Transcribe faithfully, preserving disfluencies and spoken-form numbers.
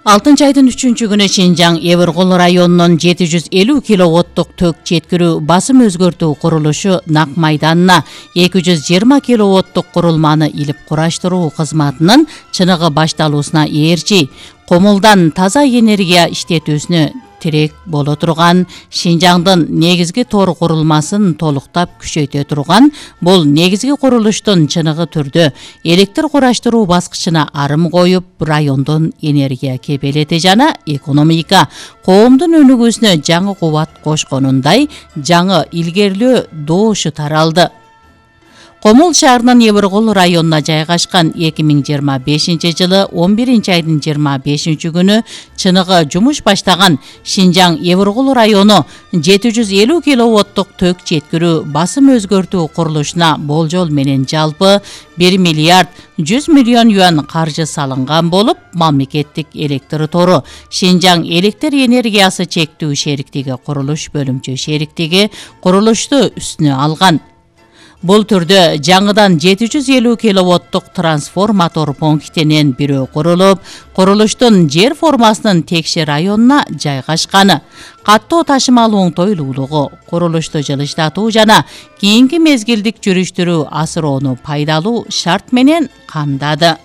алтынчы айдын үчүнчү күнү Шинжаң Эбиркул районунун жети жүз элүү киловаттык ток жеткирүү басым өзгөртүү курулушу Нак майданына эки жүз жыйырма киловаттык курулманы илип кураштыруу кызматынын чыныгы башталуусуна ээрчи комулдан таза энергия иштетүүсүнө тирек боло турган Шинжаңдын негизги тор курулмасын толуктап күчөйтө турган бул негизги курулуштун чыныгы түрдө электр кураштыруу баскычына арым коюп, райондун энергия кепелети жана экономика, коомдун өнүгүүсүнө жаңы кубат кошконундай жаңы илгерилөө доошу таралды. Комул шаарынын Эбиркул районуна жайгашкан эки миң жыйырма бешинчи жылы он биринчи айдын жыйырма бешинчи күнү чыныгы жумуш баштаган Шинжаң Эбиркул району жети жүз элүү киловаттык ток жеткирүү басым өзгөртүү курулушуна болжол менен жалпы бир миллиард жүз миллион юан каржы салынган болуп, мамлекеттик электр тору Шинжаң электр энергиясы чектүү шериктиги курулуш бөлүмчө шериктиги курулушту үстүнө алган. Бул түрдө жаңыдан жети жүз элүү киловаттык трансформатор пунктинен бирөө курулуп, курулуштун жер формасынын Текше районуна жайгашканы, каттоо ташымал оңтойлуулугу, курулушту жылыштатуу жана кийинки мезгилдик жүрүштүрүү асыроону пайдалуу шарт менен камдады.